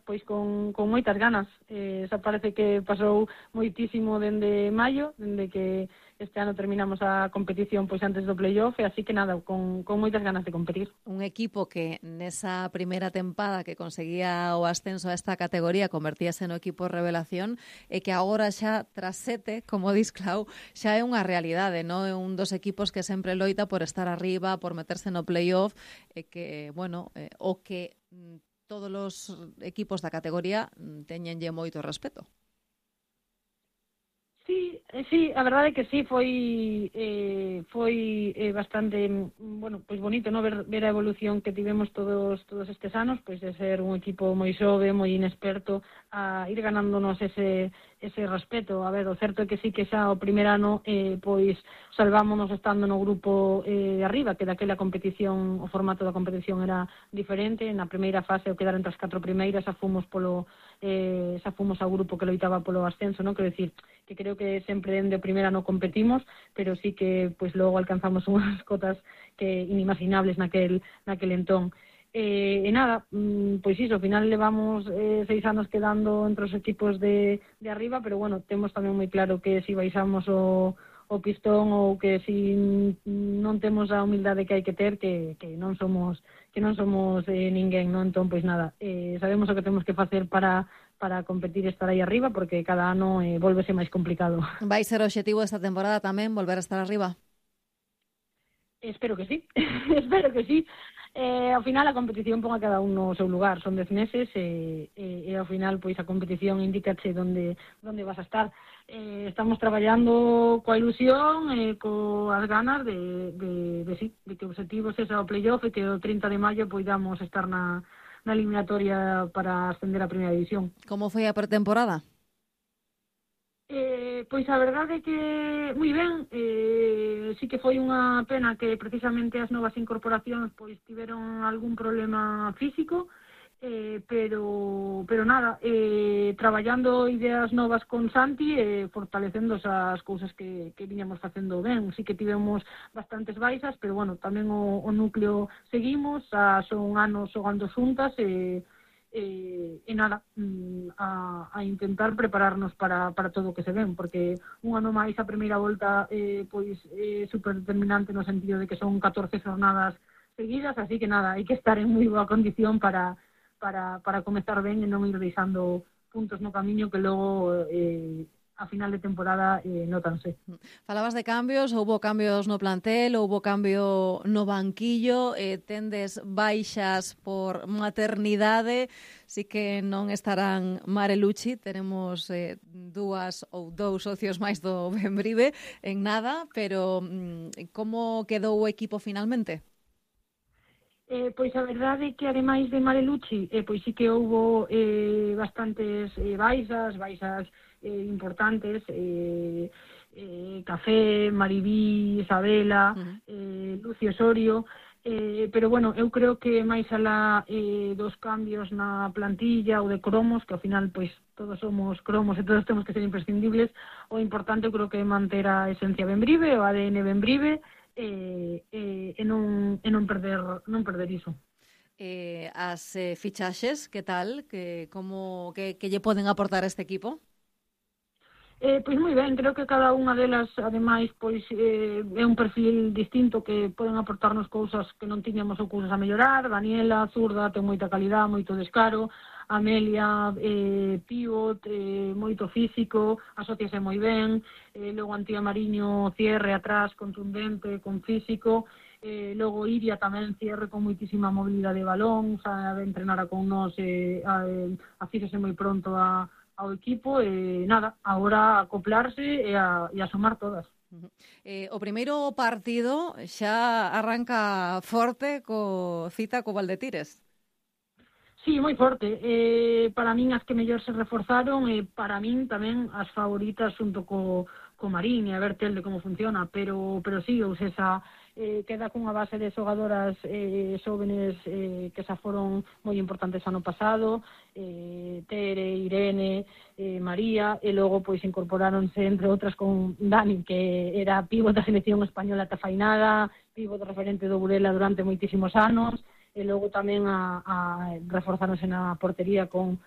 pois con moitas ganas. Xa parece que pasou moitísimo dende maio, dende que este ano terminamos a competición pois antes do playoff, e así que nada, con moitas ganas de competir. Un equipo que nesa primeira tempada que conseguía o ascenso a esta categoría convertíase no equipo revelación e que agora xa tras 7, como dis Clau, xa é unha realidade, non? É un dos equipos que sempre loita por estar arriba, por meterse no playoff, e que, bueno, o que todos os equipos da categoría teñenlle moito respeto. Sí, a verdade é que sí, foi bastante, bueno, pois bonito, no ver a evolución que tivemos todos estes anos, pois de ser un equipo moi xove, moi inexperto, a ir ganándonos ese respeto. A ver, o certo é que sí que xa o primer ano pois salvámonos estando no grupo de arriba, que daquela competición, o formato da competición era diferente. Na primeira fase, o quedar entre as 4 primeiras, xa fomos ao grupo que loitaba polo ascenso, non? Quero dicir, que creo que sempre dende o primer ano competimos, pero sí que pois logo alcanzamos unhas cotas que inimaginables naquel entón. E nada, pois iso, ao final levamos 6 anos quedando entre os equipos de arriba, pero bueno, temos tamén moi claro que si baixamos o pistón ou que si non temos a humildade que hai que ter, que non somos ninguén, non? Entón, pois nada, sabemos o que temos que facer para competir e estar aí arriba, porque cada ano volvese máis complicado. Vai ser o obxectivo esta temporada tamén, volver a estar arriba? Espero que sí, espero que sí. Ao final a competición pon a cada un no seu lugar, son 10 meses e ao final pois a competición indicache onde vas a estar. Estamos traballando coa ilusión e coas ganas de que o objetivo sexa o playoff e que o 30 de maio poidamos estar na eliminatoria para ascender a primeira división. Como foi a pretemporada? Pois a verdade é que moi ben, sí que foi unha pena que precisamente as novas incorporacións pois tiveron algún problema físico, pero nada, traballando ideas novas con Santi e fortalecendo as cousas que viñamos facendo ben. Sí que tivemos bastantes baixas, pero bueno, tamén o núcleo seguimos, son anos xogando xuntas e nada, a intentar prepararnos para todo o que se ven, porque un ano máis a primeira volta pois é super determinante no sentido de que son 14 jornadas seguidas, así que nada, hai que estar en moi boa condición para comezar ben e non ir deixando puntos no camiño que logo a final de temporada nótanse. Falabas de cambios, houbo cambios no plantel, houbo cambio no banquillo, tendes baixas por maternidade, si que non estarán Mare Lucci, tenemos dous socios máis do Bembrive en nada, pero como quedou o equipo finalmente? Pois a verdade é que ademais de Mare Lucci, pois sí que houbo bastantes baixas importantes, Café, Maribí, Isabela, Lucio Osorio, pero bueno, eu creo que máis alá dos cambios na plantilla ou de cromos, que ao final pois todos somos cromos e todos temos que ser imprescindibles, o importante eu creo que é manter a esencia Bembrive, o ADN Bembrive, e non perder iso. As fichaxes, que tal? Que lle poden aportar a este equipo? Pois moi ben, creo que cada unha delas, ademais, pois é un perfil distinto que poden aportarnos cousas que non tiñamos ou cousas a mellorar. Daniela, zurda, ten moita calidad, moito descaro. Amelia, pivot, moito físico, asociase moi ben. Logo Antía Mariño, cierre atrás, contundente, con físico. Logo Iria tamén cierre con moitísima mobilidade de balón, sabe entrenar con nós, afíxose moi pronto ao equipo e nada, agora acoplarse e a sumar todas. O primeiro partido xa arranca forte cita co Valdetires. Sí, moi forte. Para min as que mellor se reforzaron e para min tamén as favoritas xunto co Marín e a ver tel de como funciona, pero sí, ou seja, queda cunha base de xogadoras xóvenes que xa foron moi importantes ano pasado, Tere, Irene, María, e logo pois incorporáronse entre outras con Dani, que era pívot da selección española tafainada, pívot referente do Burela durante moitísimos anos, e logo tamén a reforzáronse na portería con